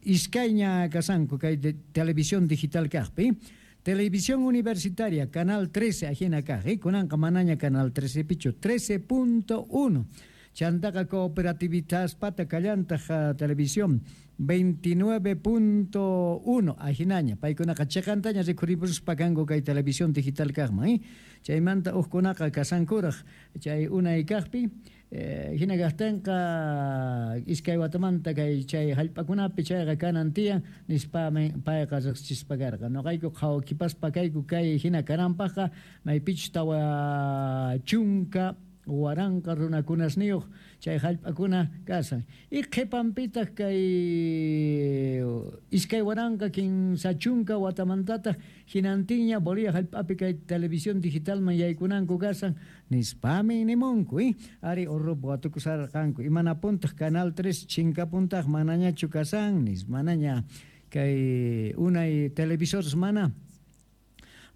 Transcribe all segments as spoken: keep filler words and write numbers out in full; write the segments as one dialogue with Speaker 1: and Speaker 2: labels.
Speaker 1: Iskayña kasanku kay de, televisión digital kajpi. Televisión Universitaria, Canal trece, ajina kaj, eh? Kunanqa manaña Canal trece pichu, trece punto uno. Chantaqa Cooperativistaspata kallantaj televisión veintinueve punto uno, ajinaña. Paykunaqa chiqantaña rikhuripuspa kanku kay televisión digital kajman, eh? Chaymanta ujkunaqa kasankuraj chay unay kajpi, eh, hina kajtinqa iskay watamanta kay chay hallp'akunapi chayqa kanan tiyan nispami payqa riqsichispa karqa. Noqayku qhawakipaspa kayku kay hina kananpaqqa maypichus tawa chunka waranqa runakunasniyuq chay hallp'akuna kasan. Y qhipanpitaq kay iskay waranqa kinsa chunka watamantataq hinantinña Bolivia hallp'api kay televisión digitalman yaykunanku kasan nispami nimunku, eh? Ari urrup watukusarqanku. Imanapuntaq Canal tres chinkapuntaq manañachu kasan nis manaña kay unay televisores mana.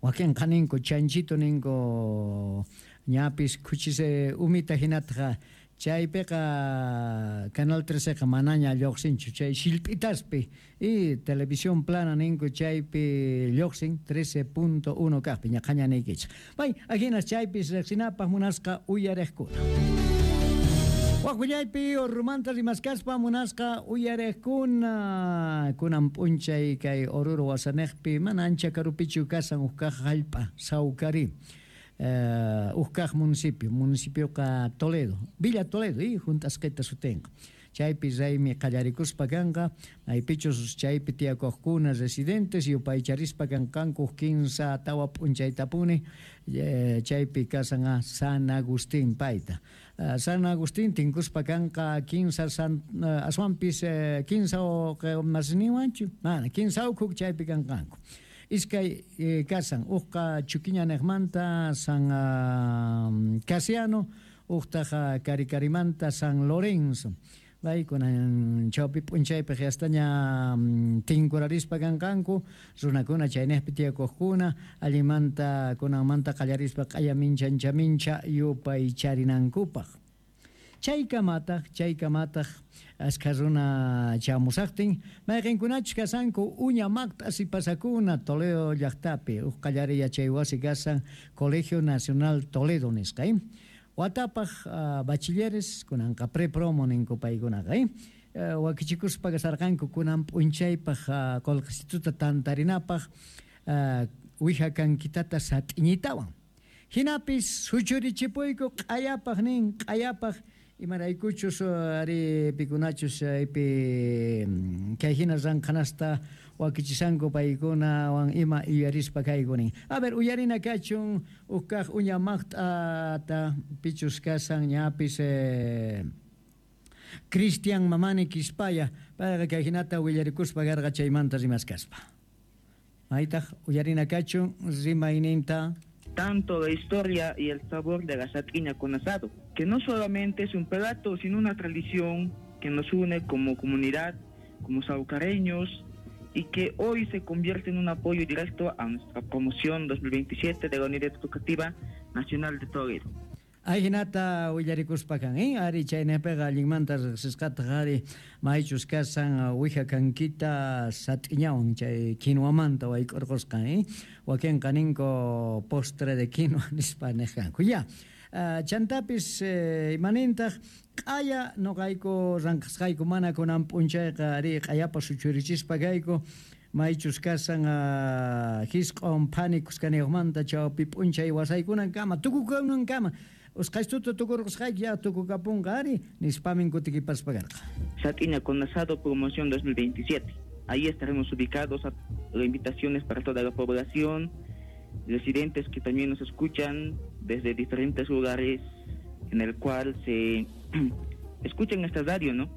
Speaker 1: Wakinqa ninku chanchito ninku ñapis khuchise umita hinataqa chaypiqa Canal treceqa manaña lluqsinchu chay shillp'itaspi y televisión plana ninku chaypi lluqsin trece punto uno kaqpi ñaqaña niykichik. Pay ahinas chaypis riqsinapaq munasqa uyariqkuna. Waqwillaypi Orurumanta rimaskaspa munasqa uyariqkuna kunan p'unchay kay Oruro wasanejpi mana ancha karupichu kasan huk kaq hallp'a Sawkari. Uh, Ujkaj municipio, municipioqa Toledo, Villa Toledo, y juntasqita sutinqa. Chaypi raymi qallarikuspa kanqa, maypichus chaypi tiyakuqkuna residentes yupaycharispa kanqanku kinsa tawa p'unchaytapuni, eh, chaypi kasan a San Agustín payta. Uh, San Agustín tinkuspa kanqa kinsa san, uh, aswanpis eh, kinsa masniwanchu, mana kinsa ukhuk chaypi kanqanku. Iskay eh, kasan uqqa Chuquiña nejmanta San uh, Casiano, uqtaqa Caricarimanta San Lorenzo. Paykunan chawpi p'unchaypi qiastaña tinkurarispa kanqanku runakuna chaynejpi tiyakuqkuna allinmanta kunanmanta qallarispa q'aya mincha mincha yupaycharinankupaq. Chaykamataq chaykamataq askha runa chamusaqtin mayqinkunachus kasanku uña maqt'asi pasakuna Toledo llaqtapi uq qallari yachay wasi kasan Colegio Nacional Toledo nisqa, eh? Watapaq uh, bachilleres kunanqa prepromo ninku paykunaqa, eh? Uh, wakichikuspa kasarqanku kunan p'unchaypaq uh, qullqisituta tantarinapaq uh, wija kankitata sat'iñitawan. Hinapis suchurichipuyku q'ayapaq nin q'ayapaq imaraykuchus ari pikunachus aypi kay hina ranqanasta wakichisanku paykunawan ima yuyarispa kaykunin. A ver, uyarina kachun ukkaq uña maqt'ata pichus kasan ñapis eh, Cristian Mamani Quispaya payqa kay hinata willarikuspa karqa chaymanta rimaskaspa. Maytaq uyarina kachun rimayninta.
Speaker 2: Tanto la historia y el sabor de la sat'iña con asado, que no solamente es un plato, sino una tradición que nos une como comunidad, como saucareños, y que hoy se convierte en un apoyo directo a nuestra promoción dos mil veintisiete de la Unidad Educativa Nacional de Toledo.
Speaker 1: Ajinata willarikuspa kan, eh? Ari chaynejpiqa allinmanta riqsisqataq ari maychus kasan wija kankita sat'iñawan chay quinoamanta wayk'urqusqan, eh? Wakinqa ninku postre de quinoa nispa nejkanku. Ya, uh, chantapis eh, imanintaq q'aya noqayku ranqasqayku mana kunan p'unchayqa ari q'ayapa suchurichispa kayku maychus kasan uh, hisq'on phani kuskaniyuqmanta chawpi p'unchay wasaykunankama tukukunankama usqaystuta tukurqusqayki ya tukukapunqa ari nispamin kutikipaspa karqa.
Speaker 2: Sat'iña con asado promoción dos mil veintisiete. Ahí estaremos ubicados a invitaciones para toda la población, residentes que también nos escuchan desde diferentes lugares en el cual se escuchan esta radio, ¿no?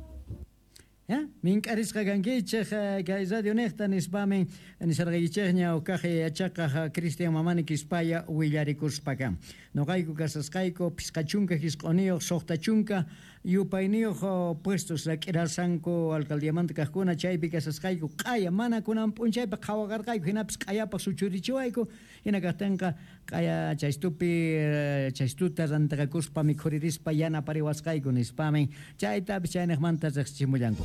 Speaker 1: ¿Ya? Mink'arisqa kankichej kay radio nejta nispamin nisarqaykichejña uqaj yachaqaj Cristian Mamani Quispaya willarikuspa kan. Noqayku kasasqayku phisqa chunka hisq'uniyuq suqta chunka yupayniyuq puestos rak'irasanku alcaldiamanta kaqkuna chaypi kasasqayku q'aya mana kunan p'unchaypi qhawaqarqayku hinapis q'ayapaq suchurichiwayku hina kaqtinqa q'aya chaystupi chaystuta rantaqakuspa mikhuririspa yanapariwasqayku nispamin chaytapis chaynejmanta riqsichimullanku.